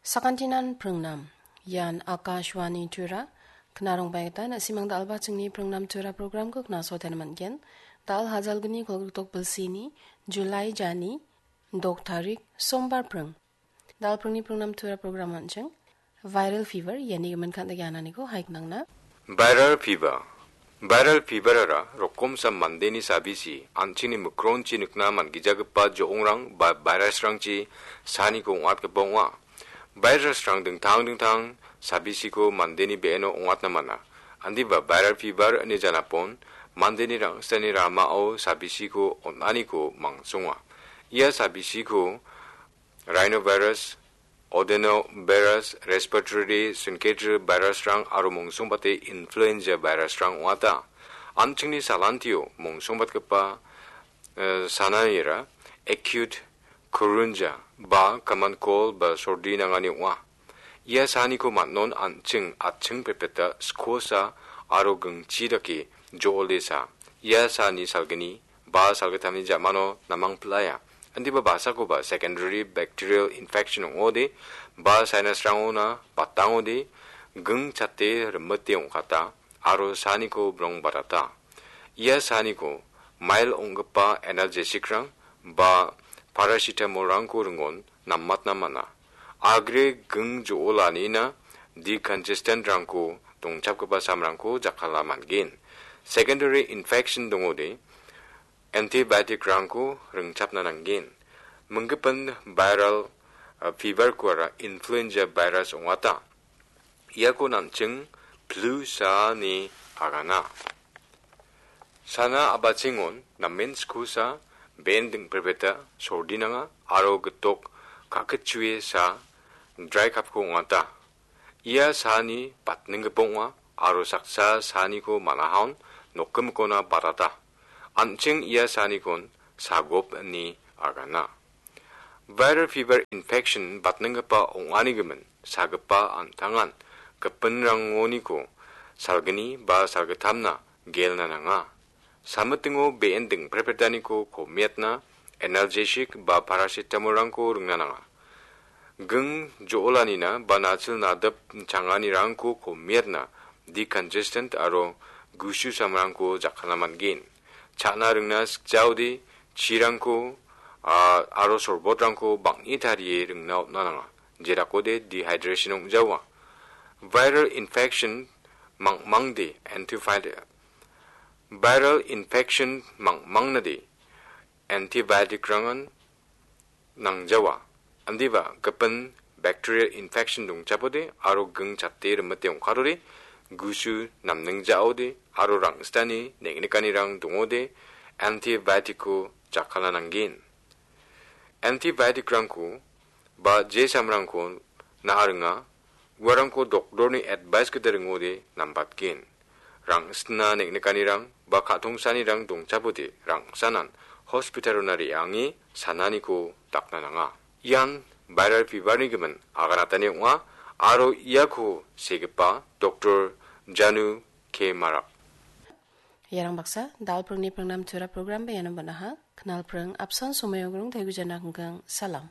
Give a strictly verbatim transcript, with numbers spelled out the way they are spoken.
Sakantinan pringnam. Ian Akashvani Tura. Knarongbaita na·simang dalba chingni pringnam Tura programko knasoten man·gen. Dal hajalgni kolgritok bilsini, July jani, dok tarik, sombar pring. Dal pringni pringnam Tura program an·ching. Viral fever, iani gimin kandagi ananiko haiknangna. Viral fever. Viral fever-ara rokomsa mandeni sabisi an·chingni mikronchi nikna man·gijagipa jo·ongrang ba virus-rangchi saniko ong·atgipa ong·a. Virus-rang dingtang dingtang sabisiko mandeni be·eno ong·atna man·a. Andiba viral fever ine janapon mandeni rang·sitani ramao sabisiko on·aniko mangsonga. Ia sabisiko rhinovirus, adenovirus, respiratory syncytial virus-rang aro mongsongbate influenza virus-rang ong·ata. An·chingni salantio mongsongbatgipa, eh, sananira acute coronary ba common cold ba sordi nangani ong·a. Ia saniko man·on an·ching atching pepeta skosa aro gingchi dake jo·olesa. Ia sani salgni ba salgittamni ja·mano namang pil·aia. Indiba basakoba secondary bacterial infection ong·ode, ba sinus-rangona batangode, ging chate rimite ong·kata, aro saniko brong batata. Ia saniko mild ong·gipa analgesic-rang ba paracetamol-rangko ringon namatna man·a. Agre ging jo·olanina decongestant-rangko dongchapgipa samrangko jakkalna man·gen. Secondary infection dongode, antibiotic-rangko ringchapna nanggen. Minggipin viral, uh, fever-koara influenza virus ong·ata. Iako an·ching flu sa ine agana. Sana a·bachengon namen skosa, be·en dingprepeta sordi nanga aro gitok ka·kitchue sa, dry cough-ko ong·ata. Ia sani batninggipa ong·a aro saksa saniko man·ahaon nokgimikona batata. An·ching ia sanikon sagop ine agana. Viral fever infection batninggipa ong·ani gimin sagipa an·tangan gipinrangoniko salgni ba salgittamna gelna nanga. Samitingo be·en dingprepretaniko komiatna analgesic ba paracetamol-rangko ringna nanga. Ging jo·olanina ba nachil nadip changanirangko komiatna decongestant aro gusu samrangko jakkalna man·gen. Cha·na ringna sikjaode chirangko, a, aro sorbotrangko bang·e tarie ringna on·na nanga. Jerakode dehydration ong·jawa. Viral infection mangmangde antibiotic, viral infection mangmangnade antibiotic-rangan nangjawa. Indiba gipin bacterial infection dongchapode aro ging chate rimite ong·katode, gusu namningjaode aro rang·sitani neng·nikanirang dongode antibiotic-ko jakkalna nanggen. Antibiotic-rangko ba je samrangko na·a ringa, uarangko doktorni advice gita ringode nambatgen. Rang·sitna neng·nikanirang ba ka·tongsanirang dongchapode rang·sanan hospital-ona re·ange sananiko dakna nanga. Ian viral fever-ni gimin aganatani ong·a aro iako segipa doktor Janu K Marak. Iarang baksa, dal pringni pringnam tura program ba iano banaha, knal pring apsan somoyogrong taigu jana kengkeng, salam.